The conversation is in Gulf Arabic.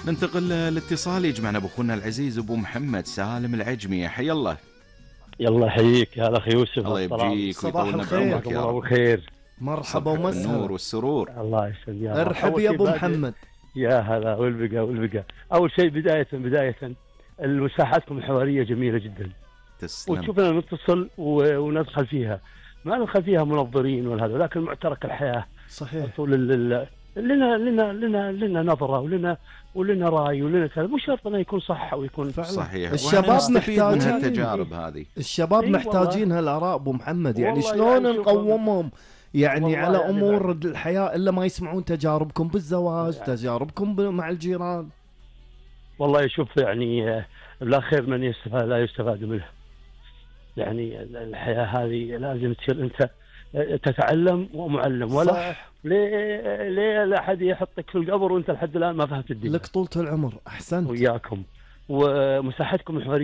ننتقل الاتصال يجمعنا بأخونا العزيز أبو محمد سالم العجمي. حي الله. يلا حييك يا اخي يوسف. الله يبجيك صباح ويطولنا الخير. بعمرك يا رب. الخير. مرحبا النور ومسهلا. والسرور. الله يسلمك. ارحب يا ابو محمد. يا هلا والبقى. اول شيء بدايه مساحتكم الحواريه جميله جدا. تسلم. وشوفنا نتصل وندخل فيها، ما ندخل فيها منظرين ولا هذا، لكن معترك الحياه. صحيح. طول لنا نظره ولنا راي ولنا كذا، مو شرط انه يكون صح او يكون فعلا. صحيح. الشباب محتاجين من هالتجارب هذه. الشباب محتاجين هالاراء ابو محمد، يعني شلون يعني نقومهم يعني على يعني امور الحياه الا ما يسمعون تجاربكم بالزواج، تجاربكم مع الجيران. والله شوف يعني لا خير من يستفاد لا يستفاد منه. يعني الحياه هذه لازم تصير انت تتعلم ومعلم، ولا صح. ليه لا احد يحطك في القبر وانت لحد الان ما فهمت الدنيا. لك طولة العمر. احسنت. وياكم ومساحتكم الحواريه